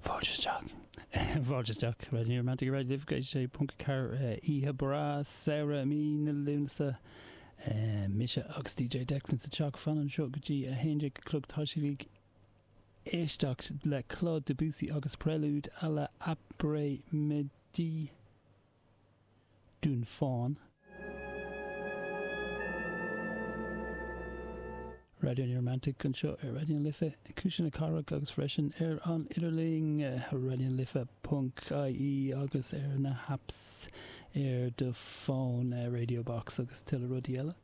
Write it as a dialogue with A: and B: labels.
A: Fáilte isteach. Fáilte isteach. Raidió New Romantic Raidió Life 106.4 oíche breá samhraidh mí na Lúnasa. Mise agus DJ Declan sa teach fan anseo go dtí 11 a chlog. Tá sibh ag éisteacht le Claude Debussy agus Prélude à l'après-midi d'un Faune. Raidió New Romantic anseo ar Raidió na Life, Cuisle na Cathrach agus freisin ar an idirlíon, raidionalife ponc ie agus ar na happs ar do fón, Radio Box agus tuilleadh rudaí eile.